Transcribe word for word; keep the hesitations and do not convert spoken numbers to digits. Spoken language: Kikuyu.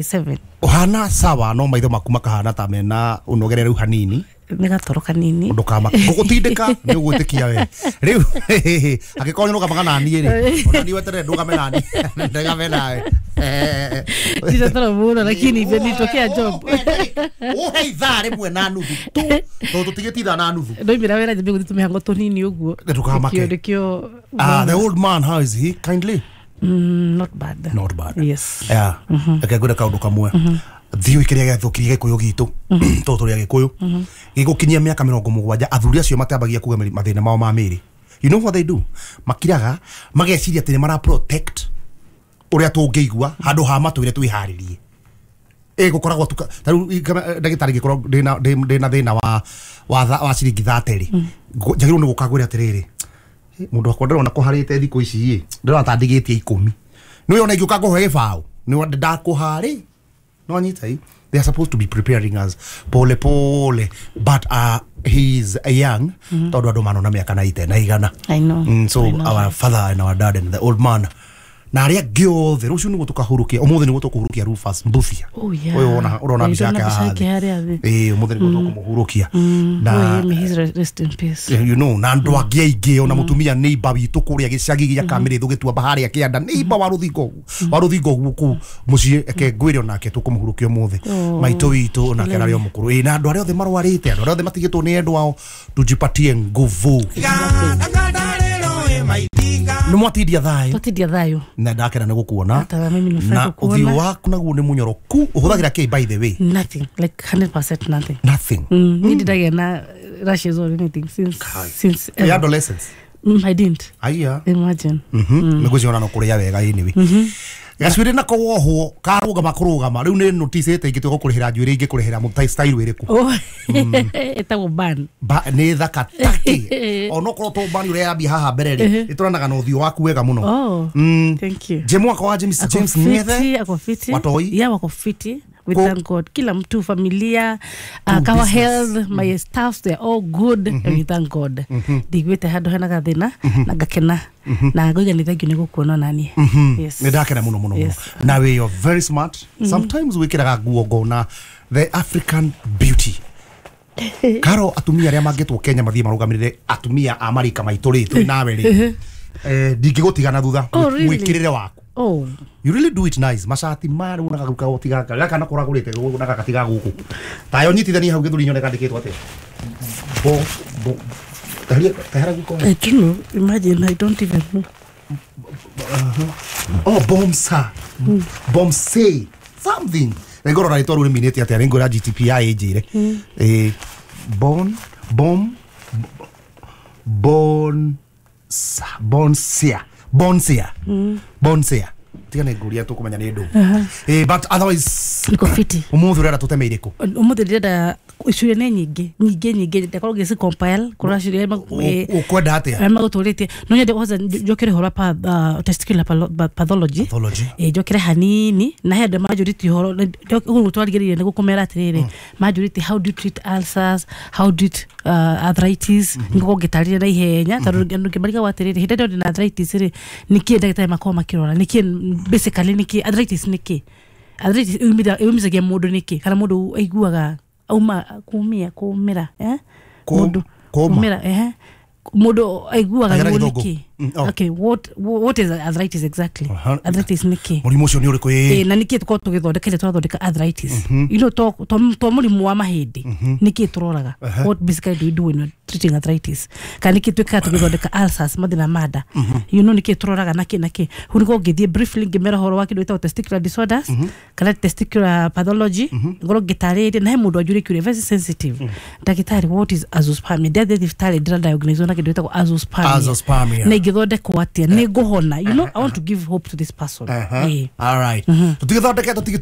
Seven. Ũhana sawa no maitho maku makahana ta mena ũnogereru hanini. Nĩ gatoro kanini. Ndũkama ngũgũtindĩka nĩ ũgwĩtĩkia we rĩu angĩkorwo nĩ rũgamaga naniĩ rĩ ona niĩ weterere ndũgame naniĩ ndũgame nawe. Tita toro mũno lakini nitokea job. Ũhe ithaa rĩmwe na nuthu tu tondũ tũtigĩte ithaa na nuthu. Ndoimĩra wĩra nyambie gũthiĩ tũmĩhango tũnini ũguo. Ndũkamake. Nĩkĩo. Ah, the old man, how is he? Kindly? Mm, not bad. Not bad. Yes. Yeah. Reke ngwĩre kaũndũ kamwe. Thiĩ ũikĩrie gĩathũkirie gĩkũyũ gitũ tondũ tũrĩ agĩkũyũ gĩgũkinyia mĩaka mĩrongo mũgwanja athuri acio matiambagia kuga mathĩna mao ma mĩĩrĩ. You know what they do? Makiraga mageciria atĩ nĩ mara protect ũrĩa tũngĩigua handũ ha matwĩre twĩharĩrie. Ĩ gũkoragwo ta rĩu ndagĩtarĩ ingĩkorwo ndĩna ndĩna thĩna wa wa wa ciringi thate rĩ njagĩrĩirwo nĩ gũka ngwĩre atĩrĩrĩ mũndũ wakwa ndĩrona kũharĩte thikũ ici ĩ ndĩrona ta ndigĩtie ikũmi nĩ ona ingĩũka ngũhe gĩbaũ nĩ ndakũharĩ no anyita. They are supposed to be preparing us pole pole, but uh, he is young tondũ andũ manona mĩaka na ite na igana. I know. Mm, so I know. Our father and our dad and the old man na arĩa angĩ othe rũciũ nĩguo tũkahurũkia ũmũthĩ nĩguo tũkũhurũkia Rufus Mbuthia. Oh yeah. Ũyũ wona ũrona mbica yake haha thĩ. Ĩĩ ũmũthĩ nĩguo tũkũmũhurũkia. Na rest in peace. You know na andũ angĩ aingĩ ona mũtumia neighbor witũ kũrĩa gĩcagi gĩa Kamĩrĩthũ gĩtuamba harĩa kĩanda neighbor wa rũthingo wa rũthingo kũu mũciĩ eke ngwĩre onake tũkũmũhurũkia ũmũthĩ. Maitũ witũ onake ararĩ o mũkũrũ. Ĩĩ na andũ arĩa othe marwarĩte andũ arĩa othe matigĩtwo nĩ endwa ao tujipatie nguvu. Nĩ mwatindia thayũ. Twatindia thayũ. Na ndakena nĩ gũkuona. Na ũthiũ waku naguo nĩ mũnyoroku. Ũhũthagĩra kĩ by the way? Nothing, like one hundred percent nothing. Nothing. Mm, mm. Ndidagĩa na rashes or anything since since ever. Adolescence. Mm, I didn't. Aya. Imagine. Mhm. Nĩngwĩciria no kũrĩa wega anyway. Mhm. Gacuĩrĩ nako wohwo karũgama kũrũgama rĩu nĩ noticĩte ingĩtuĩka kũrĩhĩra njuĩrĩ ingĩkũrĩhĩra mũtai style ĩrĩkũ? Oh. Ĩtagwo ban. Ba nĩ thaka taki. Onokorwo to ban ũrĩa yambia haha mbere rĩ ĩtũranaga na ũthiũ waku wega mũno. Oh. Mm. Thank you. Je mwaka wa James James Ngethe. Ako fiti. Watoi. Yeah, wako fiti. We thank God. Kila mtu familia, uh, our health, my mm. staffs, they are all good. Mm -hmm. And we thank God. Ndigwite handu hena gathina na ngakena na ngoiga ni thank you ni gukuona nani. Yes. Ni ndakena muno muno muno. Na we you're very smart. Mm -hmm. Sometimes wikiraga nguo ngona the African beauty. Karo atumia aria mangĩtwo Kenya mathie marugamirire atumia a marika maitũ rĩ tũrĩ nawe rĩ. Eh ndingĩgũtigana thutha mwĩkĩrĩre waku. Oh. You really do it nice. Mashati maya rĩu nagaruka gũtiga gaka na kũragũrĩte naka gatiga gũkũ. Tayo nyitithania hau gĩthũri nyone kandĩkĩtwo atĩa. Bo bo tahia tahara guko. I don't know. Imagine I don't even know. Uh-huh. Oh, bomsa. Mm. Bomse something. Ngorora rĩtwa rĩu rĩminĩte atĩa nĩ ngwĩra G T P I ĩnjĩre. Eh bon bom bon bonsia. Bonsia. Mm. Bonsia. Tiga nĩ ngũria tũkũmenya nĩ ndũ. Eh but otherwise niko fiti. Ũmũthĩ ũrenda tũteme irĩkũ? Ũmũthĩ ndĩrenda icuria nĩ nyingĩ nyingĩ nyingĩ ndakorwo ngĩci compile kũrora ciũria ũkwenda atĩa magũtũrĩtie no nyende kwanza njokere ũhoro wa testicular pathology. Eh njokere hanini na he andũ manjũrĩtie ũhoro ũguo twarigĩrĩirie nĩ gũkũmera atĩrĩrĩ manjũrĩtie how do you treat ulcers, how do you treat uh, arthritis ngũkorwo ngĩtarĩria na ihenya tondũ andũ ngĩmarigagwo atĩrĩrĩ hĩndĩ ĩrĩa ndĩ na arthritis rĩ nĩkĩ ndagĩtarĩ makoragwo makĩrora nĩkĩ basically nĩkĩ arthritis nĩkĩ arthritis yumithagia mũndũ nĩkĩ kana mũndũ aiguaga auma kumia kumira eh mundu kumira eh mundu aiguaga ruo niki. Okay, what what is arthritis exactly? Arthritis niki murimu ucio ni uriku eh na niki tukorwo tugithondeka turathondeka arthritis you know to to murimu wa mahindi niki turoraga what basically do we do when we're treating arthritis kana niki twikaga tugithondeka ulcers mathina manda you know niki turoraga naki naki hu niko ngithie briefly ngimera horo wa kindu gitagwo testicular disorders kana testicular pathology ngorwo ngitaririe na he mundu anjure kiuria very sensitive ndagitari what is azoospermia ndathie thibitarĩ ndĩra diagnose na kindu gitagwo azoospermia azoospermia na ingĩthondekwo atĩa nĩ ngũhona you know I want to give hope to this person. All right tutigithondeke tutige